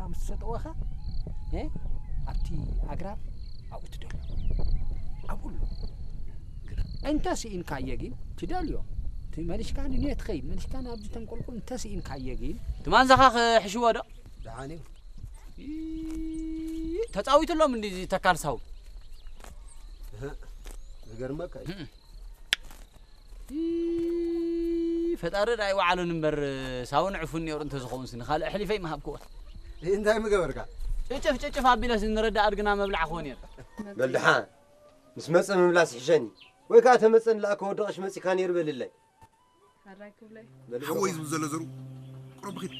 ምስ ሰጠወኻ፣ እ፣ ኣብቲ ኣግራብ ኣብኡ ትደሎ። ኣብኡ ኣሎ። እንተ ስኢንካዮ ግን ትደልዮ። እቲ መሊሽካ ንንዮ ትኸይድ፣ መሊሽካ ናብዚ ተንቆልቁል እንተ ስኢንካዮ ግን ትማንዛኻ ክሕሽዎ ዶ? ደሓን እዩ። ኢ-፣ ተጻዊትሎም እንዲ ተካል ሳው። እህ፣ ዝገርመካ እዩ። እም። ኢ-፣ ፈጣሪ ዳኣ ይወዓሉን እምበር፣ ሳውን ዕፉን ነይሩ እንተዝኸውን ስኒ ካልእ ኣሕሊፈ ይምሃብክዎ። እንታይ ምገበርካ? ጭጭፍ ጭጭፍ ኣቢለስ ንረዳ ኣድግና መብላዕ ክኾን ነይሩ። በል ደሓን፣ ምስ መጸ ምምላስ ይሕሸኒ። ወይ ከኣ ተመጸ ንላእከ ወደቐሽ መጺካ ነይሩ በልለይ። ሓራይ ክብለይ። በል ሓወይ ዝብል ዘሎ ዘሩ ቁረብ ኺድ።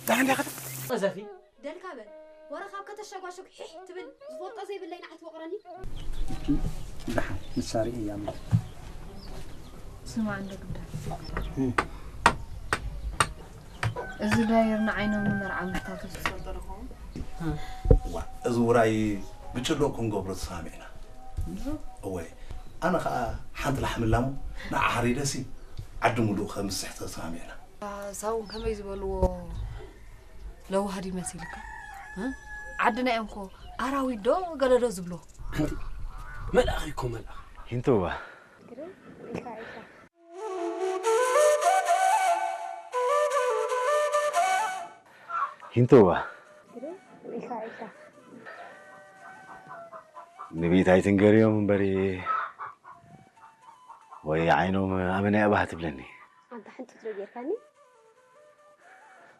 ደሓን ዲኻ? ቀዘፊ። ደልካ በል። ወረ ካብ ከተሸጓሸግ ሒሕ ትብል ዝፈልጦ ዘይብለይ ንዓት ወቕረኒ። ደሓን ንሳ ርእያ እሞ። ስማ እንዶ ግዳ። እም። እዚ ዳየር ንዓይኖም ንመርዓ ምሕታቱ ዝፈልጦ ዶ ኸውን? ዋ፣ እዚ ውራይ ብጭሎቕ ክንገብሮ ተሰማሚዕና። እወ፣ ኣነ ኸኣ ሓንቲ ላሕሚ ላሙ ንዓ ሓሪደሲ ዓዲ ሙሉእ ከምስሕ ተሰማሚዕና። ሳውን ከመይ ዝበልዎ ለዋህ ድዩ መሲልካ? እ? ዓድና እዮም እኮ ኣራዊት ዶ ገለ ዶ ዝብሎ? ኣንቲ መልኣኽ እኮ መልኣኽ። ሂንቶዋ። ግርም ኢልካ ኢልካ። ሂንቶዋ። ግርም ኢልካ ኢልካ። ንቤት ኣይትንገርዮም እምበሪ ወይ ዓይኖም ኣበናይ ኣባህ ትብለኒ። ኣንታ ሕንጥጥ ዶ ጌርካኒ?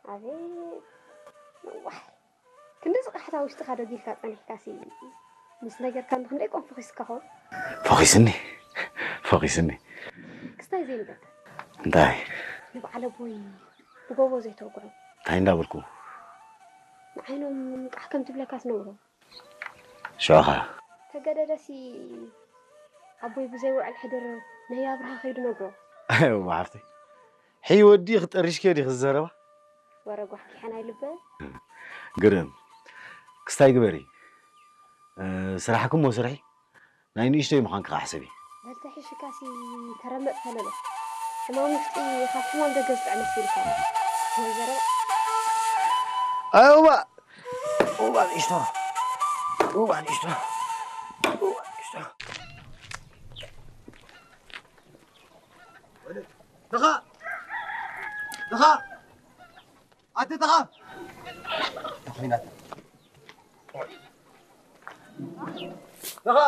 ኣቤት ነዋሕ። ክንዲ ዝቕሕታ ውሽጥኻ ደጊልካ ጸኒሕካሲ ምስ ነገርካኒ ክንደይ ቆም ፈኺስካ ኾን? ፈኺስኒ፣ ፈኺስኒ። ክስታይ ዘይንበል። እንታይ? ንበዓል ኣቦይ ብጎቦ ዘይተወግዖ። እንታይ እንዳበልኩ? ንዓይኖም ቃሕ ከም ትብለካስ ነውሮ። ሽዑ ኸ? ተገደደሲ ኣቦይ ብዘይ ውዕል ሕድር ነይ ኣብርሃ ከይዱ ነግሮ። እዋ ሓፍተይ፣ ሕይ ወዲ ክጠርሽኪዮ ዲኺ ዝዘረባ? ወረ ጓሕጊሐን ኣይልበ። ግርም። ክስታይ ግበሪ። እ፣ ስራሕኪ እሞ ስርሒ። ናይ ንእሽተይ ምዃንኪ ኸዓ ሕሰቢ። በል ተሒሽካሲ ተረመጽ ተለሎ። ሕማም ውሽጢ ካብ ሕማም ደገ ዝጥዕም መሲልካ። ናይ ዘረባ። ኣይ፣ እዋ። እዋ ንእሽቶ። እዋ ንእሽቶ። እዋ ንእሽቶ። ተኻ! ተኻ! ኣቲ ተኻ! ተኾይናት። ተኻ!